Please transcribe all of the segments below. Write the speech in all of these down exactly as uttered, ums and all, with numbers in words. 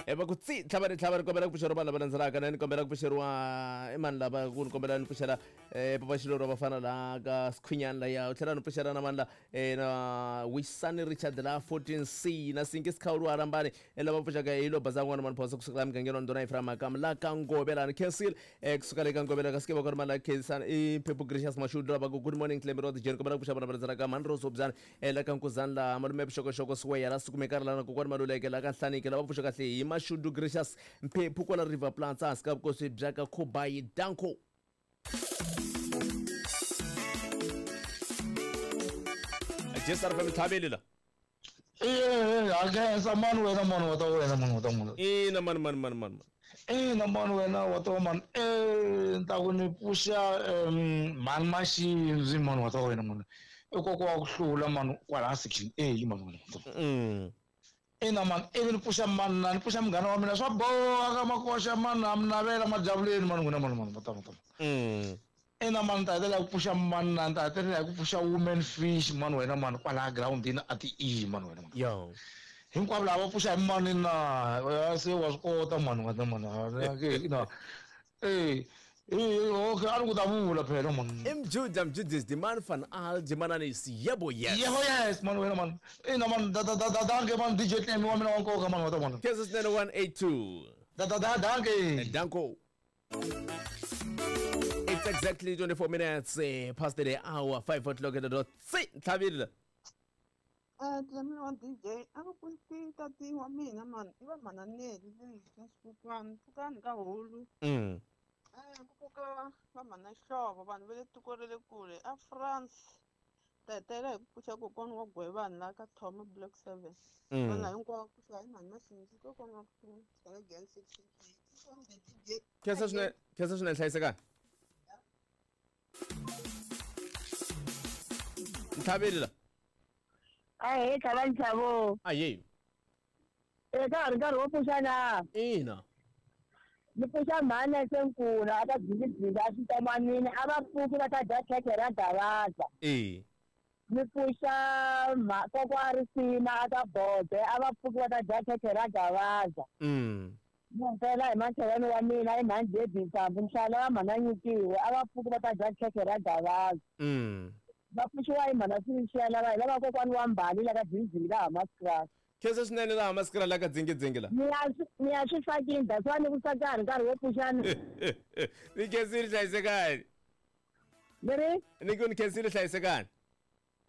Eh va ku tsi tlhava ri tlhava ri kombela ku pfuxeriwa vanhu lava landzelaka na ni kombela ku pfuxeriwa i mani lava ku ni kombela ni pfuxela eh papa Xiloro vafana la ka Skhwinyani laya u tlhela ni pfuxela na mani la eh na Wisani Richard la fourteen C na Sinki Sikhawulu Arambani eh lava pfuxaka hi lo baza n'wana mani phosa kusuka la mugangeni wa Ndhuna Ephraim Makamu la ka Ngove la ni khensile eh kusuka le ka Ngove la ka Sikeva ku ri mani la khensani i Phephu Gracious Mashudu lava ku good morning Clemmy Road Jane kombela ku pfuxa vana va landzelaka mani Rose Obyani eh la ka Nkuzani la malume Vuxokoxoko Siweya la Sukumeka ri la na kokwani Maluleke la ka Nhlaniki lava pfuxa kahle hi Mashudu Gracious Mphephu kwala River Plants hansi ka vukosi bya ka Khubayi Danko. Jesar fa mithabeli la. Eh a khensa mani wena mani wa ta wena mani wa ta mani. Ina mani mani mani mani. Ina mani wena wa ta mani eh ni ta ku ni pfuxa mani Maxindzi mani wa ta wena mani. I koko wa ku hlula mani kwala section A mani wena. Mm. Ina mani ivi ni pfuxa mani na ni pfuxa munghana wa mina swa boha ka makoxa mani a mi navela majavuleni mani n'wina mani mani va ta va ta. Mm. Ina mani ta hetelela ku pfuxa mani na ta hetelela ku pfuxa woman fish mani wena mani kwala groundini a ti E mani wena mani. Yo. Hinkwavo lava va pfuxa hi mani na se wa swi kota mani wena mani na eh okay a ni ku ta vula phela mani. Mjuda Mjudis the man van Al Jimanani yebo yes. Yebo yes mani wena mani. Ina mani da da da da danke mani D J Clem wa mina wa nkoka mani wa ta mani. Kansas nine one eight two. Da da da danke. Danko. It's exactly twenty-four minutes uh, past the hour, five o'clock at the dot. Si, Thabile. Eh, Clem wa D J, a ku pfuxi tati wa mina mani, i va mananeli leyi ka xikokwani, pfukani ka hulu. Mm. Eh, ku pfuka va mhana Xihlovo, vanhu va le tiko ra le kule a France. Ta hetelela hi ku pfuxa kokwana wa Gwevani laha ka Thoma Block seven. Mm. Vanhu hinkwavo pfuxa hi mhani Maxindzi kokwana wa ku hlula Gen section eight. Khensa swinene, khensa swinene hlayisekani. Nthabile la. Ahee tlhava nxavo. Ahee. Eh ka ha ri nkarhi wo pfuxa na? Ina. Ni pfuxa mhani Senkula a ka Dzingidzingi a Xintomanini a va pfuki va ta dya khekhe ra Gavaza. Eh. Ni pfuxa kokwa Risima a ka Bode a va pfuki va ta dya khekhe ra Gavaza. Mm. Ni mpela hi makhelwani wa mina i mhani Debbie Nsambu nhlala wa mhana Nyikiwe a va pfuki va ta dya khekhe ra Gavaza. Mm. Va pfuxiwa hi mhana Swixiya lava hi lava kokwani wa Mbali la ka Dzingidzingi la Hamaskras. Khensa swinene laha Hamaskras la ka Dzingidzingi la. Ni ya ni ya swi fakini that's why ni ku ka ha ri nkarhi wo pfuxana. Ni khensile hlayisekani. Ni ri? Ni ku ni khensile hlayisekani.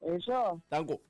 Hi swona. Danko.